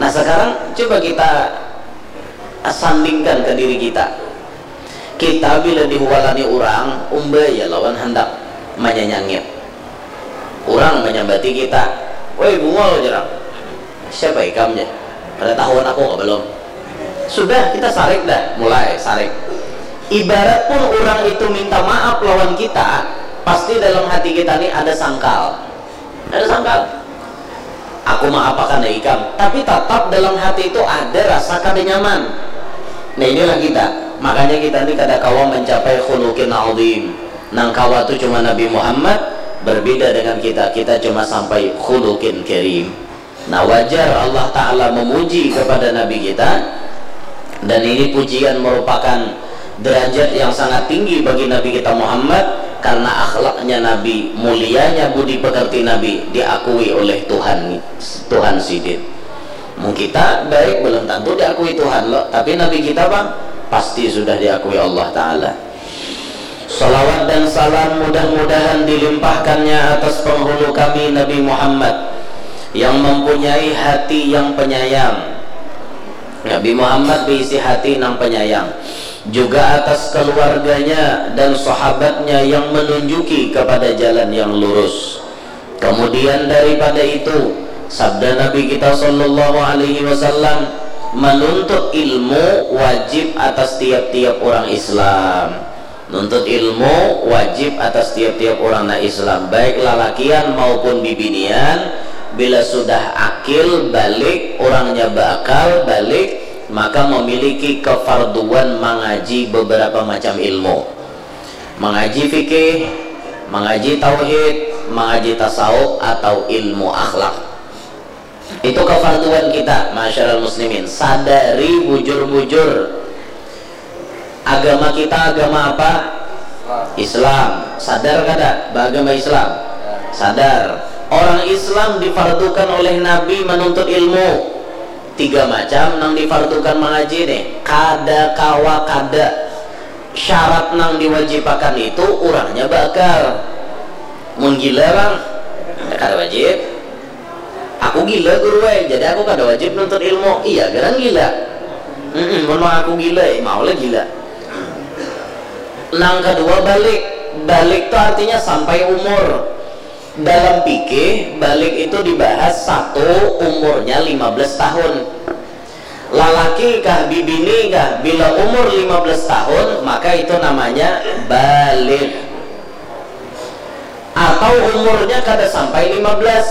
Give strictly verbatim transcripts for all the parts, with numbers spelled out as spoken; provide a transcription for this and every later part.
Nah, sekarang coba kita sandingkan ke diri kita. Kita bila dihualani urang, umba ya lawan handak manyanyangit. Urang manyambati kita, "Woi, bungul," jarang. "Siapa ikam?" jar. "Kada tahuan aku kah belum?" Sudah, kita sarik dah, mulai sarik. Ibarat pun urang itu minta maaf lawan kita, pasti dalam hati kita ni ada sangkal. Ada sangkal. "Aku maapakan ikam," tapi tatap dalam hati itu ada rasa kada nyaman. Nah, inilah kita. Makanya kita ni kada kawa mencapai khuluqin azim. Nang kawa tu cuma Nabi Muhammad, berbeda dengan kita. Kita cuma sampai khuluqin karim. Nah, wajar Allah Ta'ala memuji kepada Nabi kita. Dan ini pujian merupakan derajat yang sangat tinggi bagi Nabi kita Muhammad, karena akhlaknya Nabi, mulianya budi pekerti Nabi diakui oleh Tuhan, Tuhan sidin. Mun kita baik belum tentu diakui Tuhan lo, tapi Nabi kita, bang, pasti sudah diakui Allah Ta'ala. Salawat dan salam mudah-mudahan dilimpahkannya atas penghulu kami, Nabi Muhammad, yang mempunyai hati yang penyayang. Nabi Muhammad berisi hati nang penyayang. Juga atas keluarganya dan sahabatnya yang menunjuki kepada jalan yang lurus. Kemudian daripada itu, sabda Nabi kita sallallahu alaihi wasallam, menuntut ilmu wajib atas tiap-tiap orang Islam. Nuntut ilmu wajib atas tiap-tiap orang nang Islam, baik lalakian maupun bibinian. Bila sudah akil, balik, orangnya beakal, balik, maka memiliki kefarduan mangaji beberapa macam ilmu. Mangaji fikih, mangaji tauhid, mangaji tasawuf atau ilmu akhlak. Itu kefarduan kita, ma'asyiral muslimin. Sadari bujur-bujur, agama kita agama apa? Islam. Sadar kada beragama Islam? Sadar. Orang Islam difardukan oleh Nabi menuntut ilmu. Tiga macam nang difardukan mangaji nih. Kada kawa kada. Syarat nang diwajibakan itu urangnya beakal. Mun gila, bang, kada wajib. "Aku gila, guru ai, jadi aku kada wajib nuntut ilmu." Iya, garang gila. Mm-mm, mun aku gila, eh, mau lah gila. Nang kedua, balik. Balik tu artinya sampai umur. Dalam fikih, balik itu dibahas satu umurnya lima belas tahun. Lalaki kah, bibini kah, bila umur lima belas tahun, maka itu namanya balik. Atau umurnya kada sampai lima belas,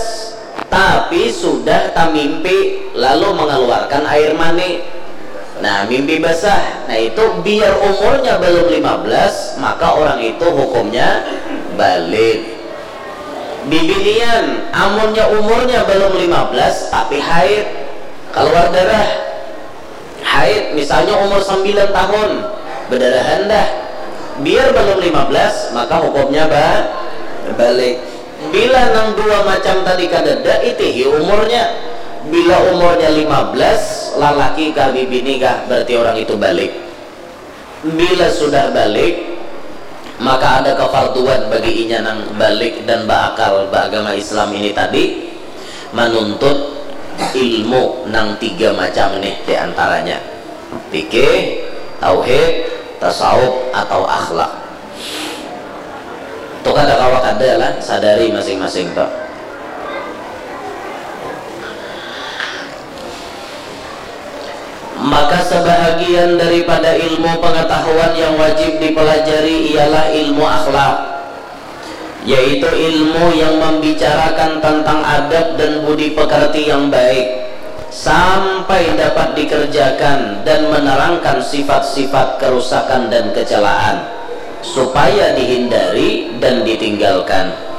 tapi sudah tamimpi lalu mengeluarkan air mani. Nah, mimpi basah. Nah, itu biar umurnya belum lima belas, maka orang itu hukumnya balik. Bibinian, amunnya umurnya belum lima belas tapi haid, keluar darah. Haid, misalnya umur sembilan tahun, bedarahan dah. Biar belum lima belas, maka hukumnya ba-, balik. Bila nang dua macam tadi kadada, itihi umurnya. Bila umurnya lima belas, lalaki kah, bibini kah, berarti orang itu balik. Bila sudah balik, maka ada kefarduan bagi inya nang balik dan beakal, beragama Islam ini tadi, menuntut ilmu nang tiga macam nih diantaranya. Fikih, tauhid, tasawuf, atau akhlak. Tu kada kawa kada lah, sadari masing-masing tu. Maka sebahagian daripada ilmu pengetahuan yang wajib dipelajari ialah ilmu akhlak, yaitu ilmu yang membicarakan tentang adab dan budi pekerti yang baik, sampai dapat dikerjakan dan menerangkan sifat-sifat kerusakan dan kecelaan, supaya dihindari dan ditinggalkan.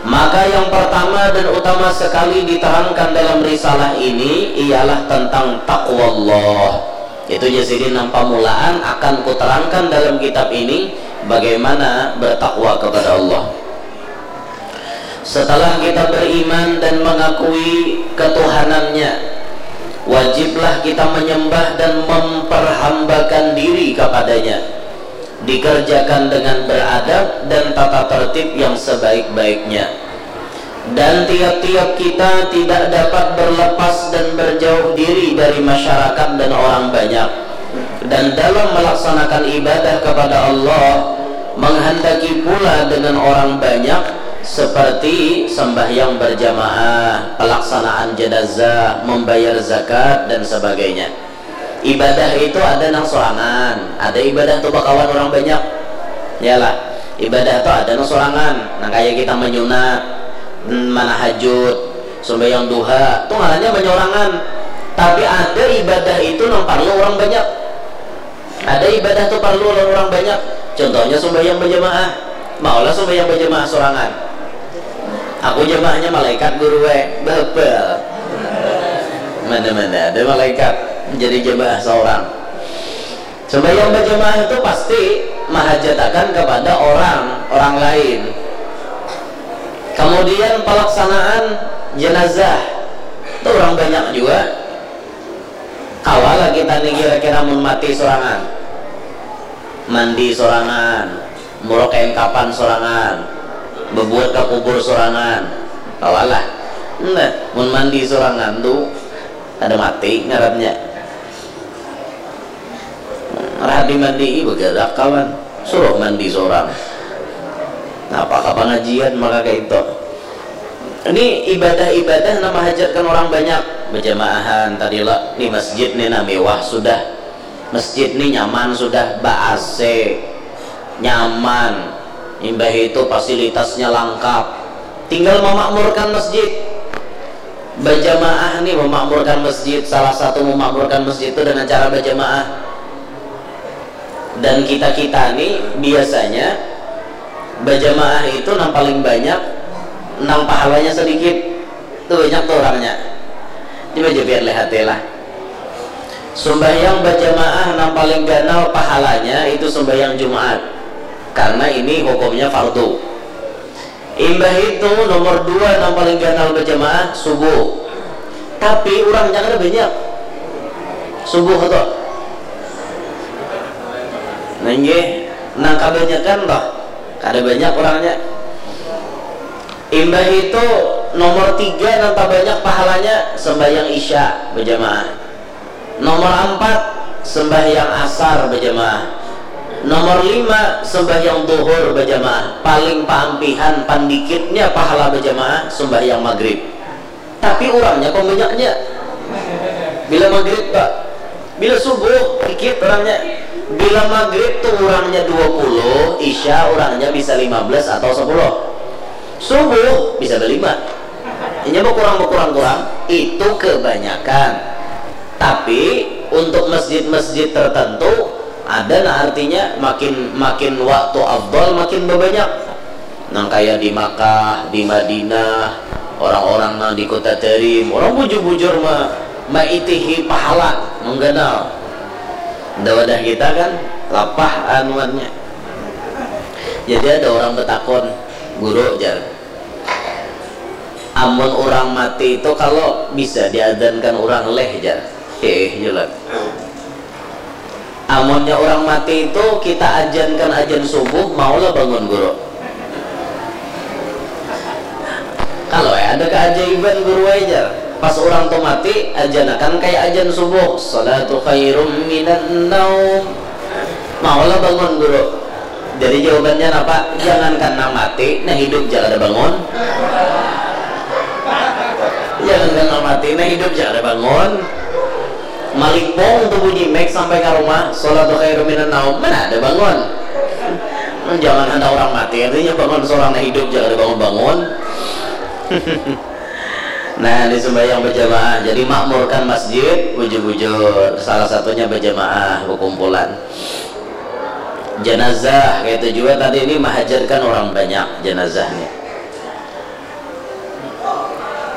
Maka yang pertama dan utama sekali diterangkan dalam risalah ini ialah tentang taqwallah. Itu jadi nang pamulaan akan kuterangkan dalam kitab ini, bagaimana bertakwa kepada Allah. Setelah kita beriman dan mengakui ketuhanannya, wajiblah kita menyembah dan memperhambakan diri kepadanya, dikerjakan dengan beradab dan tata tertib yang sebaik-baiknya. Dan tiap-tiap kita tidak dapat berlepas dan berjauh diri dari masyarakat dan orang banyak. Dan dalam melaksanakan ibadah kepada Allah, menghendaki pula dengan orang banyak, seperti sembahyang berjamaah, pelaksanaan jenazah, membayar zakat, dan sebagainya. Ibadah itu ada nang sorangan, ada ibadah tu bakawan orang banyak. Yalah, ibadah tu ada nang sorangan, nang kaya kita menyunat, mm, manahajud, sembahyang duha, tu ngarannya menyorangan. Tapi ada ibadah itu nang parlu orang banyak. Ada ibadah tu parlu lawan orang banyak. Contohnya sembahyang berjamaah. Maulah sembahyang berjamaah sorangan. Aku jamaahnya malaikat guru eh. Bebel. Mana-mana ada malaikat jadi jamaah seorang. Sembahyang berjamaah itu pasti mahajatakan kepada orang, orang lain. Kemudian pelaksanaan jenazah itu orang banyak juga. Kawalah kita nih kira-kira mun mati sorangan, mandi sorangan, murok kain kapan sorangan, bebuat ke kubur sorangan. Kawalah. Nah, mun mandi sorangan tu kada mati ngarannya. Rahat dimandii, bergerak kawan, suruh mandi sorang. Napa ka pengajian maka kayak itu. Ini ibadah-ibadah nama hajatkan orang banyak. Berjamaahan tadi lah di masjid nih, nah, mewah sudah. Masjid nih nyaman sudah, ba A C, nyaman. Imbah itu fasilitasnya lengkap. Tinggal memakmurkan masjid. Berjamaah nih memakmurkan masjid. Salah satu memakmurkan masjid itu dengan cara berjamaah. Dan kita-kita nih biasanya berjamaah itu nang paling banyak, nang pahalanya sedikit. Itu banyak tuh orangnya. Coba aja biar lihat ya lah. Sembahyang berjamaah nang paling ganal pahalanya itu sembahyang Jumat. Karena ini hukumnya fardu. Imbah itu nomor dua nang paling ganal berjamaah subuh. Tapi orangnya kada banyak. Subuh tuh. Nah, nggih, nang kebanyakan toh. Kada banyak orangnya. Imbah itu nomor tiga nang terbanyak pahalanya sembahyang isya berjamaah. Nomor empat sembahyang asar berjamaah. Nomor lima sembahyang duhur berjamaah. Paling paampihan, pandikitnya pahala berjamaah sembahyang maghrib. Tapi orangnya pembanyaknya. Bila maghrib, Pak. Bila subuh, dikit orangnya. Bila maghrib tuh orangnya dua puluh, isya orangnya bisa lima belas atau sepuluh. Subuh bisa berlima. Ini berkurang, berkurang, kurang. Itu kebanyakan. Tapi untuk masjid-masjid tertentu ada, nah, artinya makin makin waktu afdal makin berbanyak. Nang kaya di Makkah, di Madinah, orang-orang nang di kota Tarim, orang bujur-bujur ma maitihi pahala mengganal. Nda wadah kita kan lapah anuannya. Jadi ada orang betakon, guru jar, amun orang mati itu kalau bisa diadankan orang leh jar. Heeh, jelas. Amunnya orang mati itu kita ajankan ajan subuh, maulah bangun guru. Kalau eh, ada keajaiban guru ajar. Pas orang tu mati, ajanakan kayak ajan subuh. Salatu khairum minan naum. Maulah bangun guru. Jadi jawabannya apa? Jangankan nang mati, nah hidup ja kada bangun. Jangankan nang mati, nah hidup ja kada bangun. Malipong tu bunyi mek sampai ka rumah, sholatu khairum minan naum, mana ada bangun. Jangan handak orang mati, artinya bangun seorang nah hidup ja kada bangun-bangun. Nah, ini sembahyang berjamaah, jadi makmurkan masjid, bujur-bujur, salah satunya berjamaah, berkumpulan. Jenazah, kayak itu juga tadi ini mahajatkan orang banyak jenazahnya.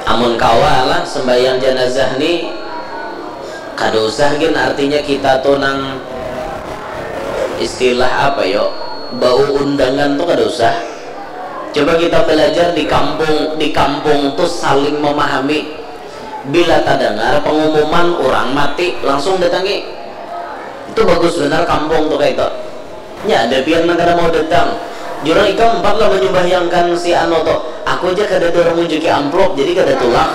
Amun kawa lah sembahyang jenazah ni, kada usah gin artinya kita tu nang istilah apa yo, bau undangan tu kada usah. Coba kita belajar di kampung, di kampung tu saling memahami. Bila tadangar pengumuman urang mati, langsung datangi. Itu bagus banar kampung tu kaitu. Nya ada pian nang kada mau datang. Jurang ikam umpat lah manyumbahyangkan si anu tu. Aku aja kada ada orang munjuki amplop, jadi kada tulak.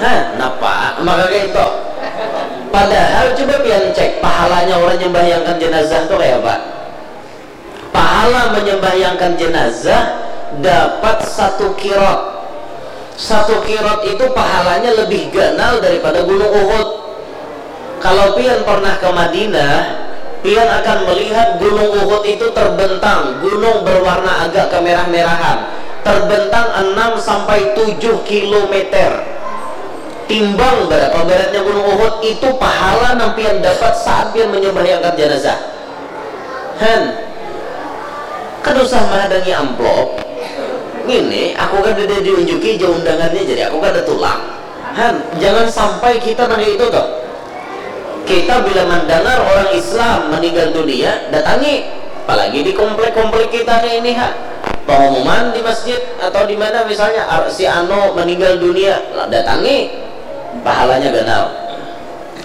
Hah, napa? Maka kayak itu. Padahal coba pian cek pahalanya orang nyembahyangkan jenazah tuh kayak apa? Pahala menyembahyangkan jenazah dapat satu kirot. Satu kirot itu pahalanya lebih ganal daripada Gunung Uhud. Kalau pian pernah ke Madinah, pian akan melihat Gunung Uhud itu terbentang, gunung berwarna agak kemerah-merahan, terbentang enam sampai tujuh kilometer. Timbang berapa beratnya Gunung Uhud, itu pahala nang pian dapat saat pian menyembahyangkan jenazah. Han, kada usah mahadangi amplop. Ini aku kada diunjuki aja undangannya, jadi aku kada tulak. Han, jangan sampai kita nang itu tuh. Kita bila mendengar orang Islam meninggal dunia, datangi. Apalagi di komplek-komplek kita nih ini ha. Pengumuman di masjid atau di mana misalnya ar- si Ano meninggal dunia, datangi. Pahalanya ganal.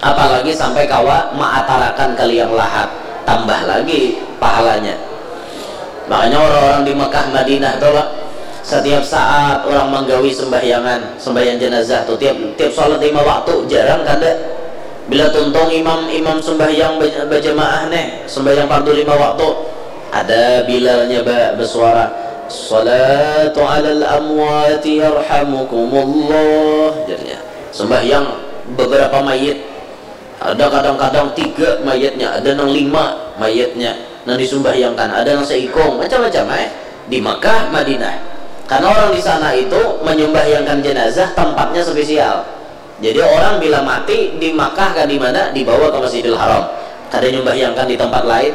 Apalagi sampai kawa maatarakan ke liang lahat, tambah lagi pahalanya. Makanya orang-orang di Mekah Madinah tuh lah, setiap saat orang menggawi sembahyangan, sembahyang jenazah tuh tiap tiap sholat lima waktu, jarang kada. Bila tuntung imam imam sembahyang berjamaah nih, sembahyang fardu lima waktu, ada bilalnya ba, bersuara, "Salatu alal amwati yarhamukumullah," jadinya sembahyang beberapa mayit. Ada kadang-kadang tiga mayatnya, ada nang lima mayatnya nang disumbahyangkan, ada nang seikung, macam-macam eh di Mekah, Madinah. Karena orang di sana itu menyumbahyangkan jenazah, tempatnya spesial. Jadi orang bila mati di Mekah kah di mana, dibawa ke Masjidil Haram. Kada nyumbahyangkan di tempat lain.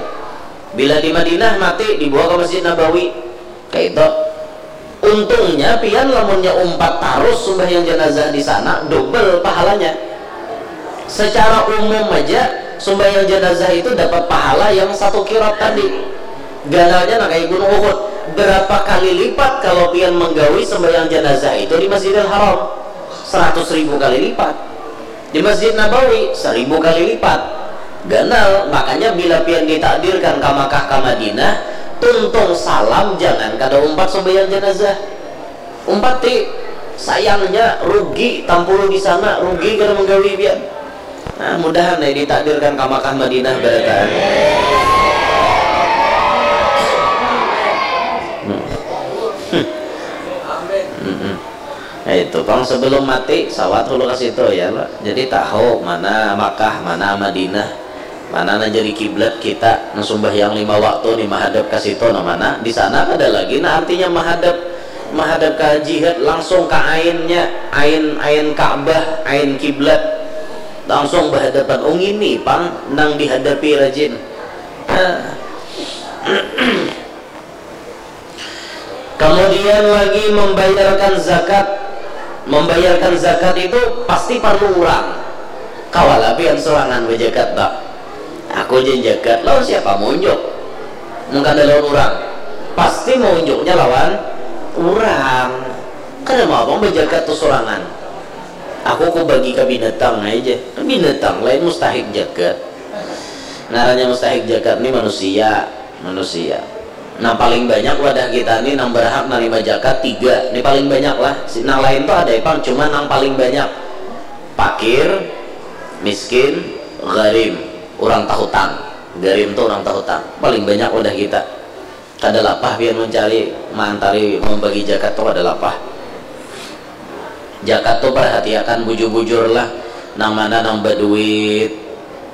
Bila di Madinah mati, dibawa ke Masjid Nabawi. Kayak itu. Untungnya pian lamunnya umpat tarus sumbahyang jenazah di sana, double pahalanya. Secara umum aja sumbahyang jenazah itu dapat pahala yang satu kirot tadi. Ganalnya nah kayak Gunung Uhud. Berapa kali lipat kalau pian menggawi sumbahyang jenazah itu di Masjidil Haram? Seratus ribu kali lipat. Di Masjid Nabawi seribu kali lipat. Ganal, makanya bila pian ditakdirkan ka Makkah ka Madinah, tuntung salam jangan kada umpat sembahyang jenazah. Umpati, sayangnya rugi tampulu di sana, rugi kada menggawi pian. Nah, mudahan nih ditakdirkan ka Makkah Madinah barataan. Hmm. Hmm. Hmm. Nah, itu pang sebelum mati sawat hulu ke situ ya lo. Jadi tahu mana Makkah, mana Madinah, mana nang jadi kiblat kita nang sumbahyang lima waktu nih mahadap ke situ nah mana. Di sana kada lagi nah artinya mahadap mahadap ke jihad langsung ke ainnya, ain ain Ka'bah, ain kiblat langsung berhadapan. Oh ini pang nang dihadapi rajin. Nah. Kemudian lagi membayarkan zakat. Membayarkan zakat itu pasti perlu orang. Kawalah pian sorangan bejakat bah. Aku jen jakat lawan siapa mau unjuk? Mun kada lawan orang, pasti mau unjuknya lawan orang. Kada mau abang bejakat tu sorangan. Aku ku bagi ke binatang aja. Binatang lain mustahik jakat. Ngarannya mustahik jakat ni manusia, manusia. Nang paling banyak wadah kita ni nang berhak narima jakat tiga. Ni paling banyak lah. Si- Nang lain tu ada ipang, cuma nang paling banyak pakir, miskin, garim, orang tahutang. Garim tu orang tahutang. Paling banyak wadah kita. Kada lapah pian mencari, maantari, membagi jakat tu kada lapah. Jakat tu perhatiakan bujur-bujur lah, nang mana nang baduit,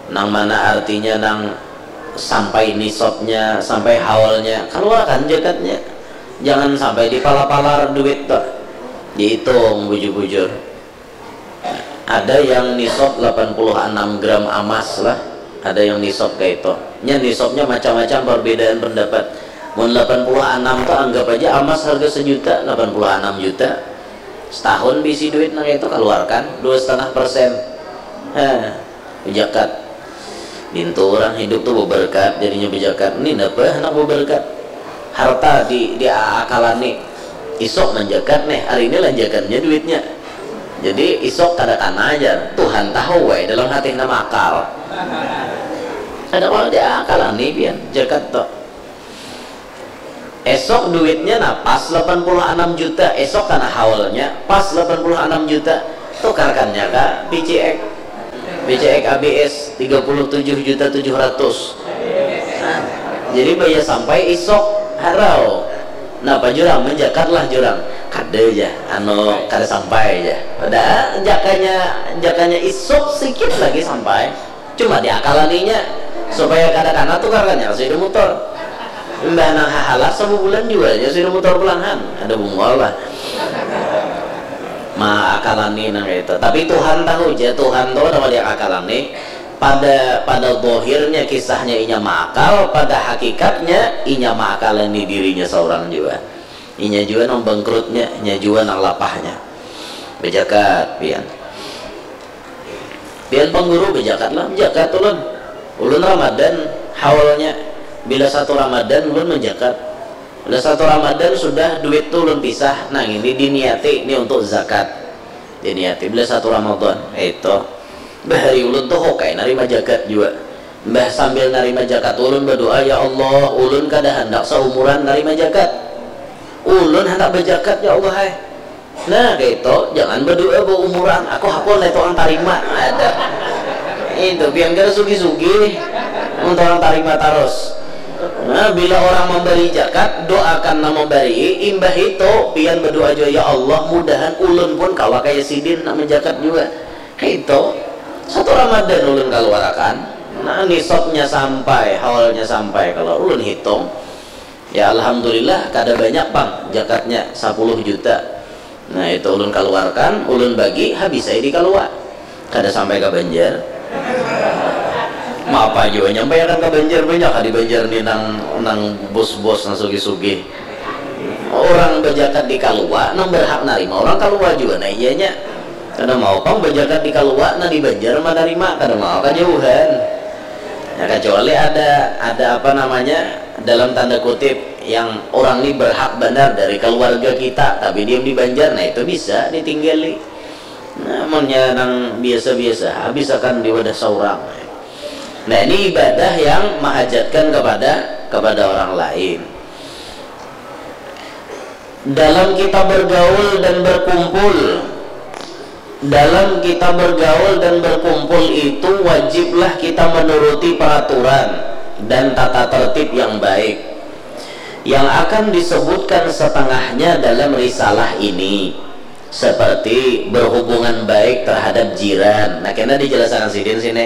nang mana artinya nang sampai nisabnya, sampai haulnya, kaluarkan jakatnya. Jangan sampai dipalar-palar duit tuh, dihitung bujur-bujur. Ada yang nisab delapan puluh enam gram amas lah, ada yang nisab kayak itu. Nya nisabnya macam-macam, perbedaan pendapat. Mun delapan puluh enam tuh anggap aja amas harga sejuta, delapan puluh enam juta. Setahun bisi duit nang itu, keluarkan dua setengah persen. Heh, zakat. Nintu orang hidup tuh beberkat, jadinya bejakat. Ini napa anak beberkat? Harta di diakalani. Isok manjakat nih, hari ini lanjakannya duitnya. Jadi isok kada kana aja. Tuhan tahu wae dalam hati nama akal. Ada kalau diakalani pian jakat tuh. Esok duitnya nah pas delapan puluh enam juta, esok karena haulnya pas delapan puluh enam juta, tukarkannya ke B C X, B C X A B S tiga puluh tujuh juta tujuh ratus. Nah, jadi bayar sampai isok harau. Napa jurang menjakatlah jurang. Kada aja, anu kada sampai aja. Pada jakanya jakanya isok sikit lagi sampai. Cuma diakalaninya supaya kada kana tukarkannya kasih motor. Imbah nang hahalah sabubulan jualnya sudah motor pulangan. Ada bungol lah. Maakalani nang itu. Tapi Tuhan tahu aja, Tuhan tahu nama dia akalani. Pada pada dohirnya kisahnya inya maakal, pada hakikatnya inya maakalani dirinya seorang juga. Inya juga nang bangkrutnya, inya juga nang lapahnya. Bejakat pian. Pian pangguru bejakat lah, bejakat ulun. Ulun Ramadan haulnya, bila satu Ramadan ulun menjakat. Bila satu Ramadan sudah duit tu ulun pisah, nah ini diniati ini untuk zakat. Diniati bila satu Ramadan, itu. Bahari ulun tuh hokai narima jakat jua. Mbah sambil narima jakat ulun berdoa, ya Allah, ulun kada handak seumuran narima jakat. Ulun handak berjakat ya Allah hai. Nah, kayak jangan berdoa berumuran, aku hakun itu orang tarima. Ada. Itu pian kada sugi-sugi untuk orang tarima terus. Nah, bila orang memberi jakat, doakan nama memberi, imbah itu pian berdoa juga, ya Allah, mudahan ulun pun kawa kayak sidin nak menjakat juga. Kayak itu. Satu Ramadan ulun keluarkan. Nah, nisabnya sampai, haulnya sampai kalau ulun hitung. Ya alhamdulillah kada banyak pang jakatnya sepuluh juta. Nah itu ulun keluarkan, ulun bagi habis saya di kalua. Kada sampai ke Banjar. Mapa jua nyampaikan ke Banjar banyak di Banjar ni nang nang bos-bos nang sugih-sugih. Orang berjakat di kalua nang berhak narima orang kalua juga nah iyanya. Kada mau pang berjakat di kalua nah di Banjar menerima kada mau kejauhan. Ya, kecuali ada ada apa namanya dalam tanda kutip yang orang ni berhak benar dari keluarga kita tapi diam di Banjar nah itu bisa ditinggali. Nah, munnya nang biasa-biasa habis akan di wadah seorang. Nah ini ibadah yang menghajatkan kepada kepada orang lain. Dalam kita bergaul dan berkumpul, dalam kita bergaul dan berkumpul itu wajiblah kita menuruti peraturan dan tata tertib yang baik. Yang akan disebutkan setengahnya dalam risalah ini, seperti berhubungan baik terhadap jiran. Nah, kena dijelaskan sidin sini.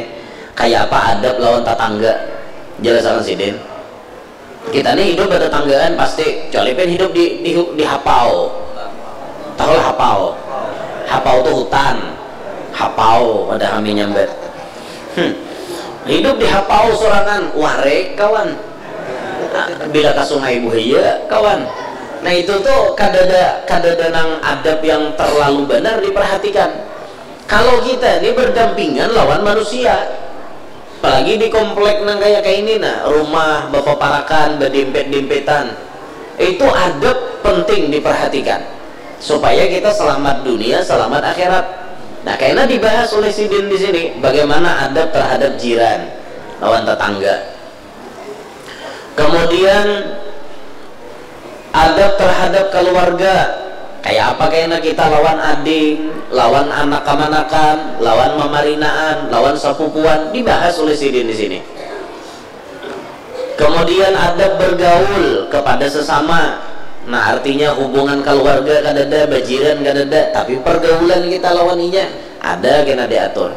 Kayak apa adab lawan tetangga? Jelaskan sidin. Kita nih hidup bertetanggaan pasti, kecuali pian hidup di di di hapau. Tahulah hapau. Hapau tuh hutan. Hapau pada kami nyambat. Hmm. Hidup di hapau sorangan, warek kawan. Bila ke sungai buhaya kawan. Nah itu tuh kadada kadada nang adab yang terlalu benar diperhatikan. Kalau kita ini berdampingan lawan manusia, apalagi di komplek nang kayak kayak ini nah, rumah bapaparakan, badempet-dempetan, itu adab penting diperhatikan supaya kita selamat dunia, selamat akhirat. Nah, karena dibahas oleh sidin di sini bagaimana adab terhadap jiran lawan tetangga. Kemudian adab terhadap keluarga, kayak apa kena kita lawan ading, lawan anak kamanakan, lawan mamarinaan, lawan sapupuan, dibahas oleh sidin di sini. Kemudian adab bergaul kepada sesama. Nah, artinya hubungan keluarga kadada, bajiran kadada, tapi pergaulan kita lawan inya ada kena diatur.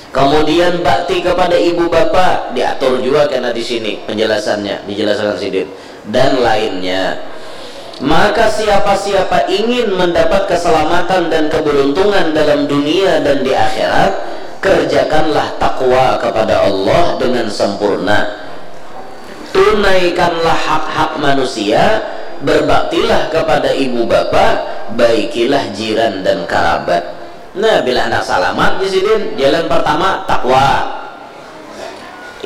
Kemudian bakti kepada ibu bapa diatur juga kena di sini penjelasannya, dijelaskan sidin dan lainnya. Maka siapa-siapa ingin mendapat keselamatan dan keberuntungan dalam dunia dan di akhirat, kerjakanlah takwa kepada Allah dengan sempurna. Tunaikanlah hak-hak manusia, berbaktilah kepada ibu bapa, baikilah jiran dan karabat. Nah, bila hendak salamat di sidin, jalan pertama takwa.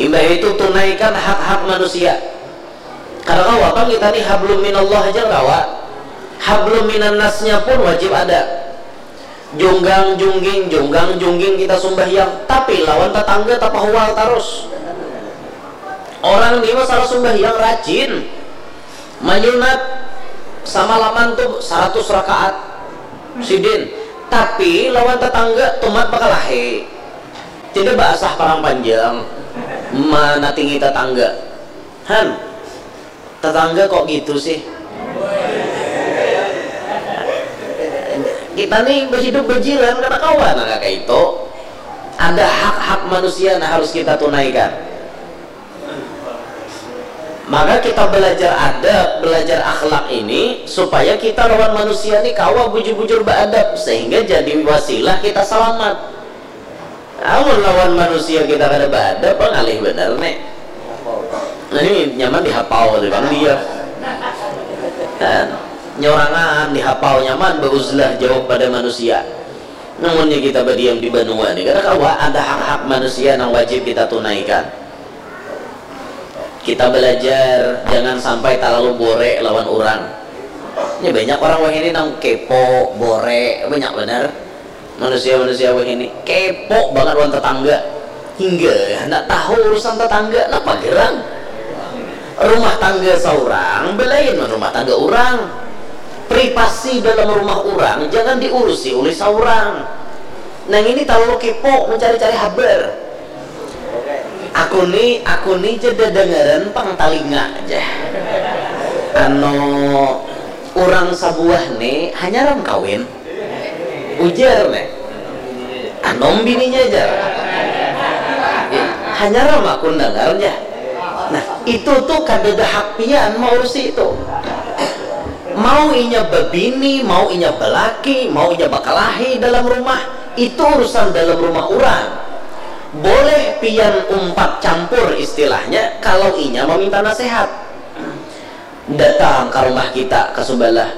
Imbah itu tunaikan hak-hak manusia. Kada kawa pang kita nih hablum minallah aja kawa. Hablum minannasnya pun wajib ada. Junggang jungging, junggang jungging kita sumbahyang, tapi lawan tetangga tapahual terus. Orang ni masalah sumbahyang rajin. Manyunat samalaman tu saratus rakaat sidin, tapi lawan tatangga tumat bakalahi. Tidak baasah parang panjang manatingi tatangga. Han, tatangga kok gitu sih? Kita nih hidup bajiran kada kawa nang kaya itu. Ada hak-hak manusia yang harus kita tunaikan. Maka kita belajar adab, belajar akhlak ini supaya kita lawan manusia ni kawa bujur-bujur beadab sehingga jadi wasilah kita selamat. Amun lawan manusia kita kada beadab, ngalih benar nih. Nah, ini nyaman dihapau tu bang dia. Kan? Nyorangan dihapau nyaman beuzlah jauh pada manusia. Namunnya kita berdiam di banua ni, kada kawa ada hak-hak manusia yang wajib kita tunaikan. Kita belajar jangan sampai terlalu bore lawan orang. Ini banyak orang wahini nang kepo, bore, banyak benar. Manusia-manusia wahini kepo banget lawan tetangga. Hingga hendak tahu urusan tetangga, napa gerang? Rumah tangga seorang belain rumah tangga orang. Privasi dalam rumah orang jangan diurusi oleh seorang. Nang ini terlalu kepo mencari-cari habar. Aku ni, aku ni jeda dengaran pang talinga aja. Ano orang sabuah ni hanya ram kawin. Ujar nih. Anom bininya aja. Hanya ram aku dengar aja. Nah, itu tuh kada ada hak pian maurusi itu. Mau inya babini, mau inya balaki, mau inya bakalahi dalam rumah, itu urusan dalam rumah orang. Boleh pian umpat campur istilahnya kalau inya meminta nasihat. Datang ke rumah kita ke sebelah.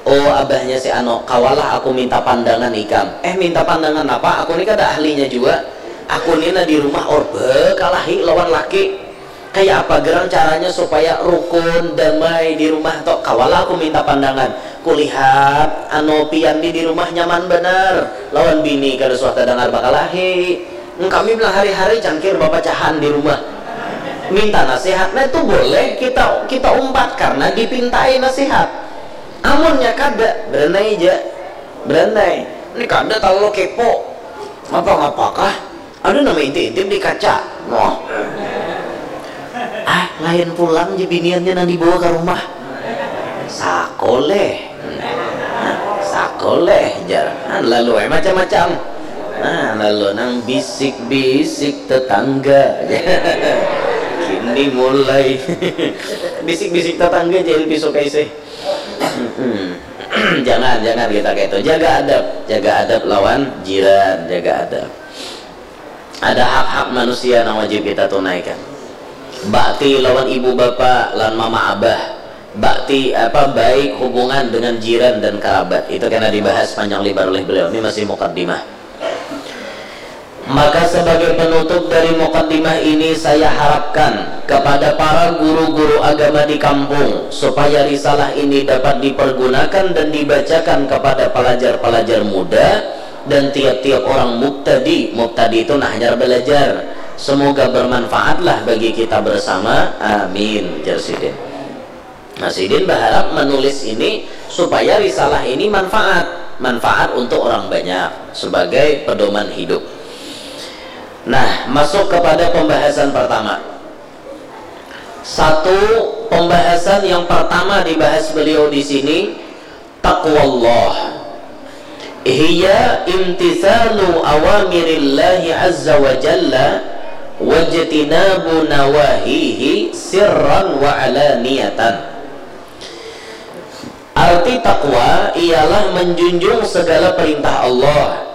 Oh, abahnya si Ano, kawalah aku minta pandangan ikam. Eh, minta pandangan apa? Aku ni kada ahlinya juga. Aku ni nah di rumah orba kalahi lawan laki. Kaya apa gerang caranya supaya rukun, damai di rumah tok? Kawalah aku minta pandangan. Kulihat anu pian ni di rumah nyaman banar lawan bini, kada suah tadangar bakalahi. Kami bilang hari-hari cangkir bapacahan di rumah. Minta nasihat, nah itu boleh kita kita umpat karena dipintai nasihat. Amunnya kada, berenai ja, berenai. Ini kada terlalu kepo. Ngapa-ngapakah? Ada nama intip-intip di kaca. Noh. Ah, lain pulang je biniannya nang dibawa ke rumah. Sakoleh. Sakoleh, jar. Ah, lalu eh macam-macam. Nah, lalu nang bisik-bisik tetangga. Kini mulai bisik-bisik tetangga je lebih suka isi. Jangan, jangan kita kayak itu. Jaga adab, jaga adab lawan jiran, jaga adab. Ada hak-hak manusia yang wajib kita tunaikan. Bakti lawan ibu bapa, lawan mama abah. Bakti apa, baik hubungan dengan jiran dan kerabat. Itu kena dibahas panjang lebar oleh beliau. Ini masih mukaddimah. Maka sebagai penutup dari mukaddimah ini, saya harapkan kepada para guru-guru agama di kampung supaya risalah ini dapat dipergunakan dan dibacakan kepada pelajar-pelajar muda dan tiap-tiap orang mubtadi. Mubtadi itu nah hanyar belajar. Semoga bermanfaatlah bagi kita bersama. Amin, jar sidin. Nah, sidin berharap menulis ini supaya risalah ini manfaat, manfaat untuk orang banyak sebagai pedoman hidup. Nah, masuk kepada pembahasan pertama. Satu, pembahasan yang pertama dibahas beliau di sini, taqwallah. Hiya imtithalu awamirillahi azza wa jalla wajtinabu nawahihi sirran wa alaniyatan. Arti takwa ialah menjunjung segala perintah Allah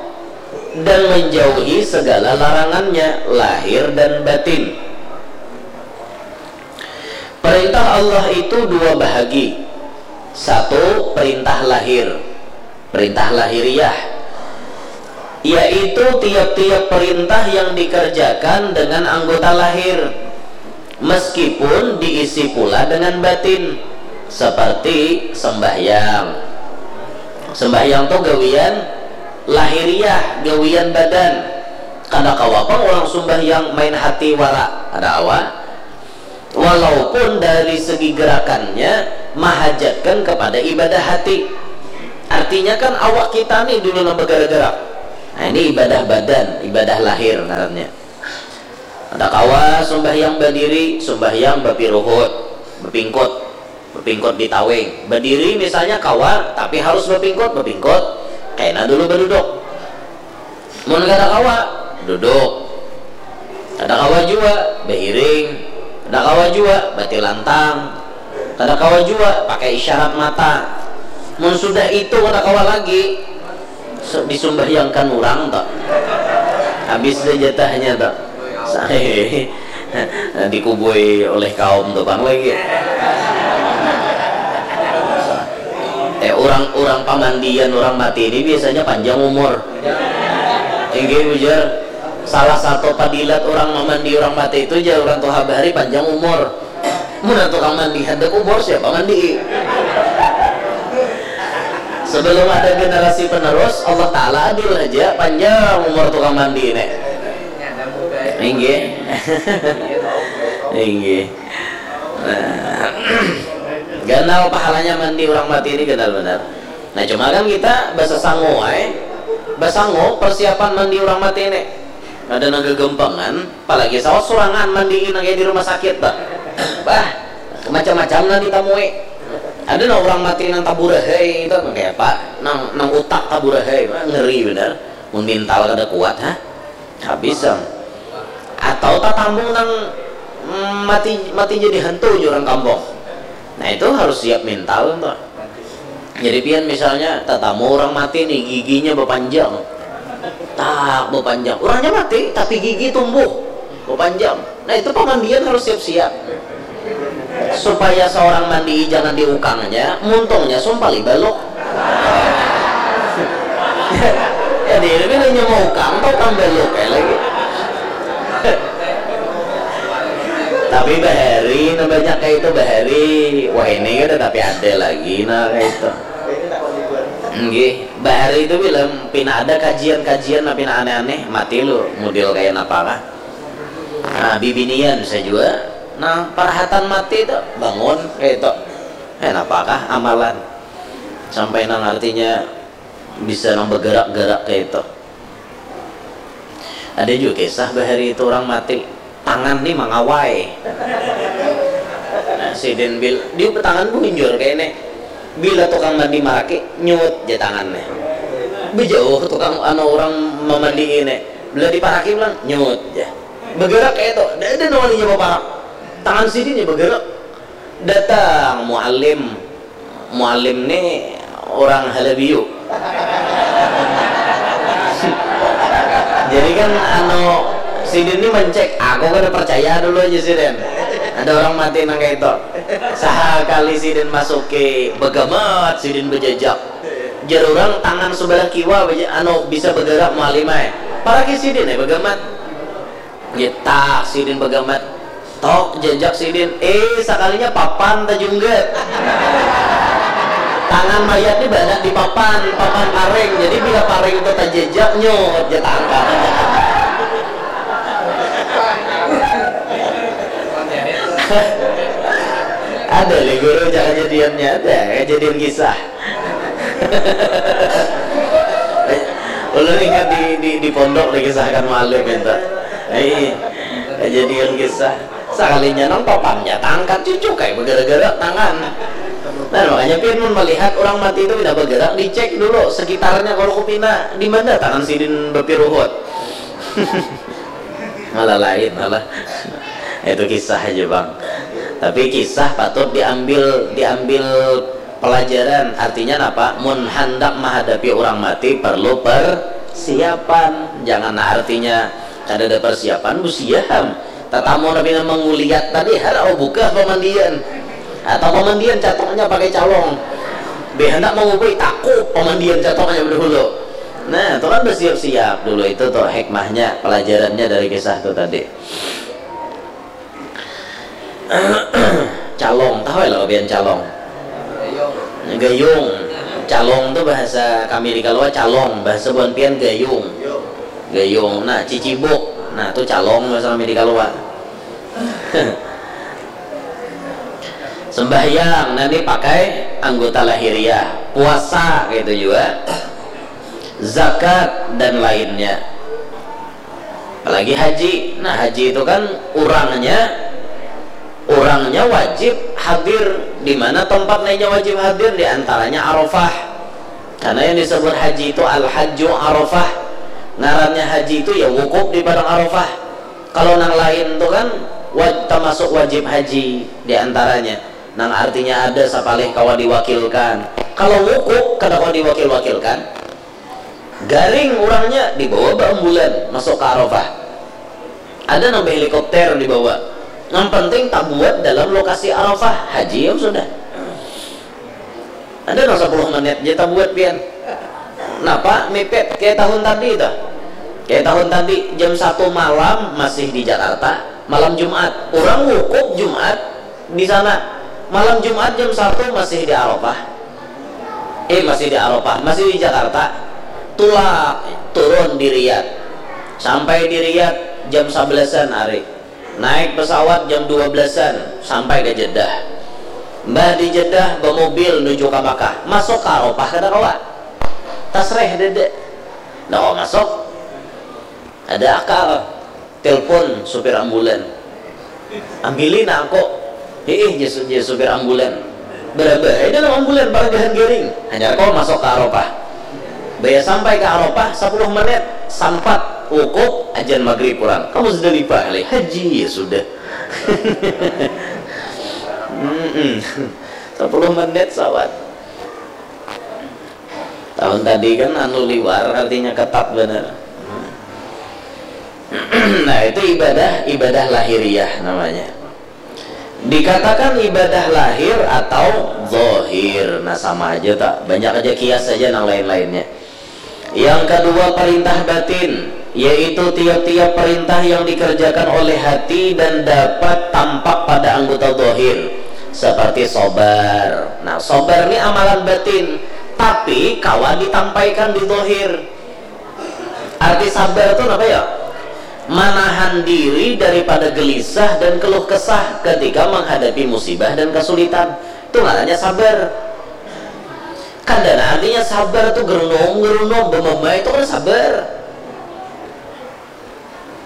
dan menjauhi segala larangannya, lahir dan batin. Perintah Allah itu dua bahagi. Satu, perintah lahir. Perintah lahiriah, yaitu tiap-tiap perintah yang dikerjakan dengan anggota lahir, meskipun diisi pula dengan batin, seperti sembahyang. Sembahyang tu gawian lahiriah, gawian badan. Kada kawa pang orang sembahyang main hati wara, ada awa. Walaupun dari segi gerakannya mahajatkan kepada ibadah hati. Artinya kan awak kita nih dulu nang bergerak-gerak. Nah, ini ibadah badan, ibadah lahir ngarannya. Ada kawa sumbahyang badiri, sumbahyang bapiruhut, bapingkut, bapingkut di tawing. Badiri misalnya kawa, tapi harus bapingkut, bapingkut. Kena dulu baduduk. Mun kada kawa, duduk. Kada kawa jua, bahiring. Kada kawa jua, batilantang. Kada kawa jua, pakai isyarat mata. Mun sudah itu kada kawa lagi, se- disumbahyangkan urang tuh. Habis dah jatahnya tuh. Sa- Dikubui oleh kaum tuh bang lagi. Eh, orang orang pamandian orang mati ini biasanya panjang umur. Inggih, ujar salah satu padilat orang mamandi orang mati itu, jar orang tuha bahari, panjang umur. Mun tukang mandi handak umur, siapa mandi? Sebelum ada generasi penerus, Allah Ta'ala adil aja, panjang umur tukang mandi ini. Inggih. Inggih. Nah, ganal pahalanya mandi orang mati ini, ganal benar. Nah, cuma kan kita basasangu ai. Basangu persiapan mandi orang mati ini. Ada nang gagampangan, apalagi sawat surangan mandi nang kayak di rumah sakit bah. Bah, macam-macam nang ditamui. Ada nang orang mati nang taburahai itu, nang kayak apa? Nang nang utak taburahai, wah, ngeri benar. Mun mental kada kuat, ha? Habis am. Atau tatamu nang mm, mati mati jadi hantu di orang kampung. Nah, itu harus siap mental tuh. Jadi pian misalnya tatamu orang mati nih, giginya berpanjang. Tak berpanjang. Orangnya mati tapi gigi tumbuh berpanjang. Nah, itu pamandian harus siap-siap. Supaya seorang mandi jangan diukangnya, muntungnya sumpali baluk. Jadi ini hanya mau ukang, tau kan baluk kayak lagi. Tapi bahari, nah, banyak kayak itu bahari. Wah, ini kan tapi ada lagi, nah, kayak itu. Nggih, bahari itu bilang pina ada kajian-kajian, nah, pina aneh-aneh, mati lu, model kayak apa kah? Nah, bibinian saya juga. Nah, parahatan mati itu bangun kayak itu. Eh, apakah amalan? Sampai nang artinya bisa nang bergerak-gerak kayak itu. Ada juga kisah bahari itu orang mati, tangan nih mangawai. Nah, sidin bil, dia tangan bunjur kayak ini. Bila tukang mandi maraki, nyut aja tangannya. Bejauh tukang anu orang memandi ini. Bila diparaki bilang, nyut aja. Bergerak kayak itu. Ada ada nawalinya baparak. Tangan sidin ya bergerak. Datang muallim. Muallim ni orang Halabiu. Jadi kan anu sidin ni mencek, aku kada percaya dulu aja sidin. Ada orang mati nang kayak itu. Sahakali sidin masuki, begamat sidin bejajak. Jar orang tangan sebelah kiwa beja- anu bisa bergerak muallim ai. Paraki sidin ai begamat. Ngitak sidin bagamat. Tok jajak sidin. Eh, sakalinya papan tajunggat. Tangan mayat ni banyak di papan, papan paring. Jadi bila paring tu tajajak, nyut, ja tangkap. Ada le guru, ja kajadiannya ada, kajadian kisah. Ulun ingat di, di, di pondok dikisahkan muallim itu. Ai, kajadian kisah. Sakalinya nang papannya tangkat cucuk kayak bergerak-gerak tangan. Nah, makanya pian mun melihat orang mati itu pina bergerak, dicek dulu sekitarnya kalau kupina di mana tangan sidin bapiruhut. Malah lain malah. Itu kisah aja, Bang. Tapi kisah patut diambil diambil pelajaran. Artinya apa? Mun handak menghadapi orang mati perlu persiapan. Jangan artinya kada ada persiapan, busiaham. Tatamu tapi menguliat tadi harau buka pemandian. Atau pemandian catoknya pakai calong. Be hendak mengubui takup pemandian catoknya dahulu. Nah, itu kan bersiap-siap dulu itu tuh hikmahnya, pelajarannya dari kisah itu tadi. Calong, tahu ya lah kabian calong? Gayung. Calong tuh bahasa kami di Kalua calong, bahasa buan pian gayung. Gayung. Nah, cicibuk. Nah, tuh calong bahasa kami di Kalua. Sembahyang nanti pakai anggota lahiriah, puasa gitu juga, zakat dan lainnya. Apalagi haji. Nah, haji itu kan urangnya, urangnya wajib hadir. Di mana tempat nainya wajib hadir? Di antaranya Arafah. Karena yang disebut haji itu al-hajju Arafah. Ngarannya haji itu ya wukuf di padang Arafah. Kalau nang lain tu kan wa-, termasuk wajib haji di antaranya. Nang artinya ada sapalih kawa diwakilkan. Kalau wukuf kada kawa diwakil-wakilkan. Garing urangnya dibawa baambulan masuk ke Arafah. Ada nang behelikopter dibawa. Yang penting tabuat dalam lokasi Arafah, haji ya sudah. Ada nang sepuluh menit je tabuat pian. Napa mipit kayak tahun tadi tuh? Kayak tahun tadi jam satu malam masih di Jakarta, malam Jumat. Orang wukuf Jumat di sana. Malam Jumat jam satu masih di Arafah. Eh, masih di Arafah, masih di Jakarta. Tulak turun di Riyadh. Sampai di Riyadh jam sabelasan hari. Naik pesawat jam dua belasan sampai ke Jeddah. Mbah di Jeddah bemobil nuju ke Makkah. Masuk ke Arafah kada kawa. Tasreh dede. Nah, masuk. Ada akal. Telepon supir ambulan. Ambili nak aku. Hiih, jar su-, jar supir ambulan. Berabah ai dalam ambulan, paragahan garing. Hanyar kau masuk ke Arafah. Baya sampai ke Arafah, sepuluh menit, sampat wukuf, ajan maghrib pulang. Ke Muzdalifah, leh. Haji, ya sudah. Mm-mm. Sepuluh menit sawat. Tahun tadi kan anu liwar, artinya ketat benar. Nah, itu ibadah, ibadah lahiriah namanya. Dikatakan ibadah lahir atau zahir. Nah, sama aja tak? Banyak aja kias aja nang lain-lainnya. Yang kedua, perintah batin, yaitu tiap-tiap perintah yang dikerjakan oleh hati dan dapat tampak pada anggota zahir, seperti sobar. Nah, sobar ni amalan batin, tapi kawa ditampaikan di zahir. Arti sabar tu napa ya? Manahan diri daripada gelisah dan keluh kesah ketika menghadapi musibah dan kesulitan. Itu ngarannya sabar. Kada nah artinya sabar tu gerunum-gerunum, bememai tu kada sabar.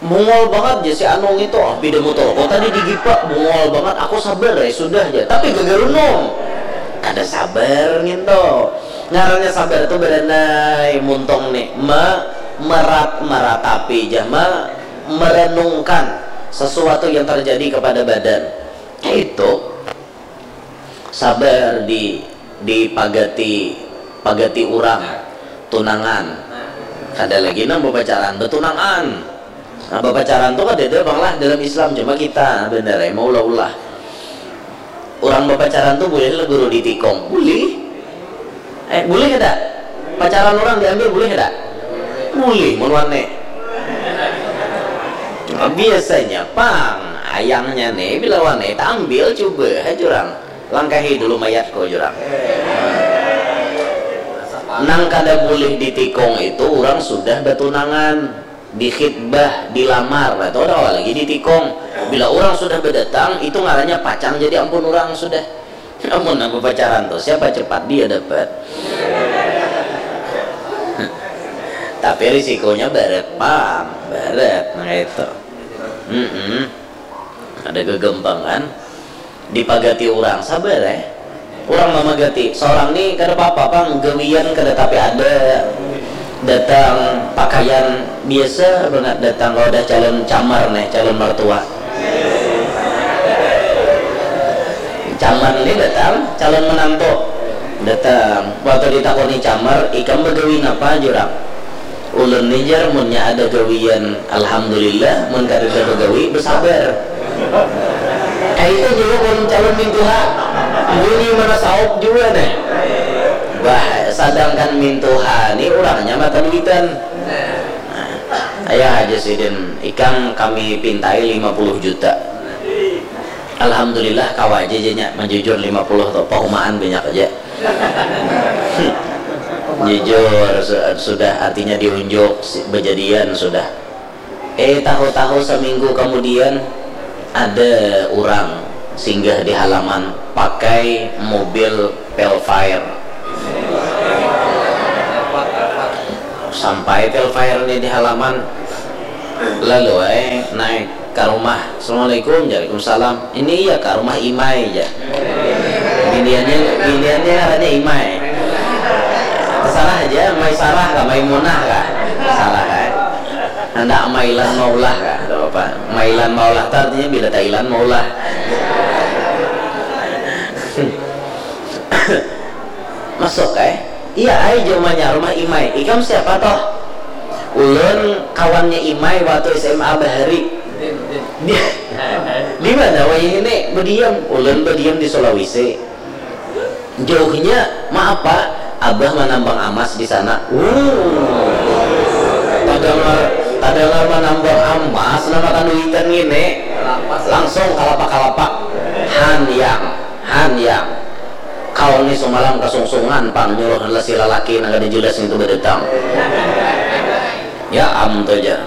Bungol bangat ja si anu ngintu, ah, pida mutur ko tadi digipa, bungol bangat, aku sabar ai sudah ja, tapi gegerunum. Kada sabar ngintu. Ngarannya sabar tu badanai, muntung ni, me-, merat-, meratapi ja, me-, merenungkan sesuatu yang terjadi kepada badan. Kaitu. Sabar di, di pagati, pagati urang tunangan. Kada lagi nang bapacaran, batunangan. Nah, bapacaran tu kadada pang lah dalam Islam, cuma kita banar ai maulah-ulah. Urang bapacaran tu bulih lah guru ditikung? Bulih. Eh, bulih kada? Pacaran urang diambil bulih kada? Bulih mun wani. Nah, biasanya pang ayangnya ni bila wani taambil cuba haja urang. Langkahi dulu mayatku, jar urang. Nang kada bulih ditikung itu urang sudah batunangan, dikhitbah, dilamar, nah, itu kada kawa lagi ditikung. Bila urang sudah badatang, itu ngarannya pacang jadi ampun urang sudah. Amun nang bapacaran tu, siapa cepat dia dapat. Tapi risikonya barat pang, barat, nah itu. Mm-mm. Ada gegampang kan? Dipagati urang, sabar eh. Urang mamagati, seorang ni kada papa pang, gawian kada tapi ada. Datang pakaian biasa bangat, datang wadah calon camar nih, calon mertua. Camar ni datang, calon menantu datang. Waktu ditakuni camar, ikam bagawi napa, jar urang? Ulun ni jar, munnya ada gawian alhamdulillah, mun kadada bagawi, besabar. Kaitu jua mun calon mintuha, bunyi mana saup jua nih. Bah, sadangkan mintuha ni urangnya mata duitan. Nah, ayah haja sidin, ikam kami pintai lima puluh juta. Alhamdulillah kawa aja janya manjujur lima puluh tu, pahumaan banyak aja. Jujur su-, sudah artinya diunjuk si-, bejadian sudah. Eh, tahu-tahu seminggu kemudian ada urang Singgah di halaman pakai mobil Velfire. Sampai Velfire ni di halaman, lalu ai naik ka rumah. "Assalamualaikum." "Waalaikumsalam." "Ini iya ka rumah Imai?" jar. Biniannya, biniannya ngarannya Imai. Terserah aja, Mai Sarah kah, Maimunah kah? Sarah ai. Handak mailan maulah kah? Kada apa. Mailan maulah tu artinya bila tailan maulah. Masuk ai. "Iya ai," jawabnya, "rumah Imai. Ikam siapa toh?" "Ulun kawannya Imai waktu S M A bahari." "Di, di mana wayah ini bediam?" "Ulun bediam di Sulawesi." "Jauhnya, maaf Pak, Abah manambang amas di sana." Wuh. Tadangar, tadangar manambang amas, nang matan duitan ngini. Langsung kalapak-kalapak. "Han Yang, Han Yang. Kawan ni sumalam kasungsungan pang nyuruh lasi lalaki nang kada jelas ngitu badatang." Ya am tu ja.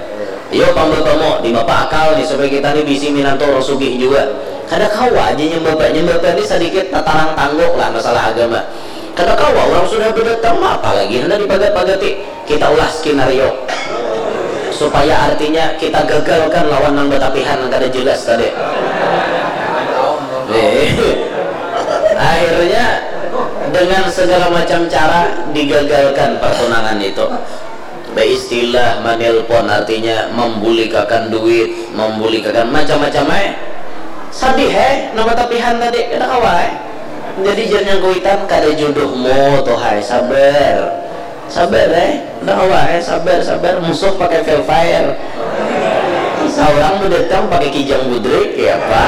Iyo pang bapa mo, di bapa akal ni supaya kita ni bisi minantu urang sugih jua. Kada kawa aja nyambapa, nyambapa ni sadikit tatarang tangguk lah masalah agama. Kada kawa urang sudah badatang ma apa lagi handak dipagat-pagati. Kita ulah skenario supaya artinya kita gagalkan lawan nang batapihan nang kada jelas tadi. Eh. Akhirnya dengan segala macam cara digagalkan pertunangan itu. Baistilah manelpon, artinya mambulikakan duit, mambulikakan macam-macam ai. Sadih ai, nang batapihan tadi, kada kawa ai. Jadi jar nang kuitan, kada jodohmu tu hai, sabar. Sabar ai, kada kawa ai, sabar, sabar. Musuh pakai Velfire. Saurang badatang pakai Kijang Budrik, ya apa?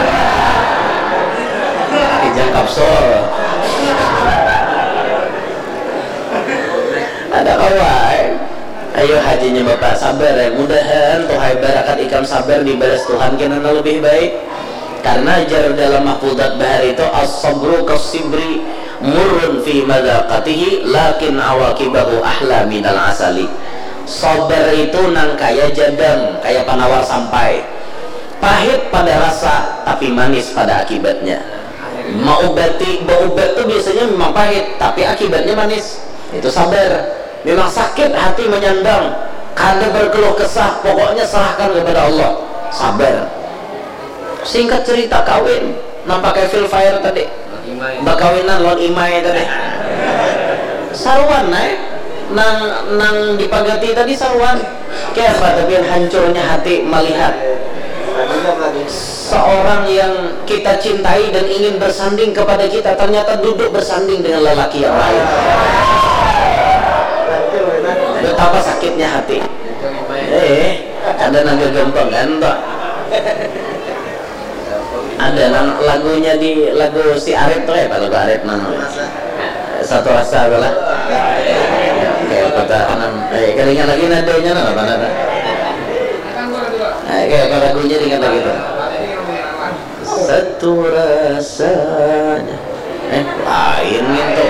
Kijang Kapsul. Kada kawa ai. Ayo hajinya Bapak, sabar ai. Mudahan tu hai barakat ikam sabar dibalas Tuhan kena nang lebih baik. Karena jar dalam mahfudzat bahari itu, "As-sabru kas-sibri murrun fi madzaqatihi lakin awaqibahu ahla minal asali." Sabar itu nang kaya jadam, kaya panawar sampai. Pahit pada rasa, tapi manis pada akibatnya. Maubati, baubat tu biasanya memang pahit, tapi akibatnya manis. Itu sabar. Memang sakit hati menyandang, kada berkeluh kesah, pokoknya serahkan kepada Allah. Sabar. Singkat cerita, kawin nang pakai Velfire tadi. Bakawinan lawan Imai tadi. Saruan ai. Nang, nang dipagati tadi saruan. Kaya apa tapi hancurnya hati melihat seorang yang kita cintai dan ingin bersanding kepada kita, ternyata duduk bersanding dengan lelaki yang lain. Betapa sakitnya hati. Eh, ada nang gagampangan toh. Ada nang lagunya di, lagu si Arif tuh, ya, lagu Arif nang Satu Rasa tu lah. Kayak kota nang, eh, kada ingat lagi nadanya nang apa nada. Eh, kayak apa lagunya, ingat lagi tuh. Satu Rasanya. Eh, lain gitu.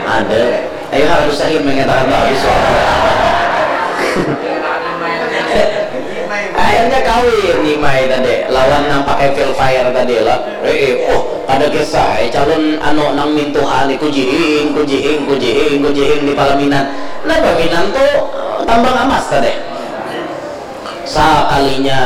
Ada. Ayo harus sahih mengatakan bagus. Akhirnya kawin Imai tadi lawan nang pakai Velfire tadi lah. Eh, eh, oh, ada kisah, eh, calon anu nang mintuha ni, kujihing, kujihing, kujihing, kujihing di palaminan. Nah, palaminan tuh, eh, tambang amas tadi. Sakalinya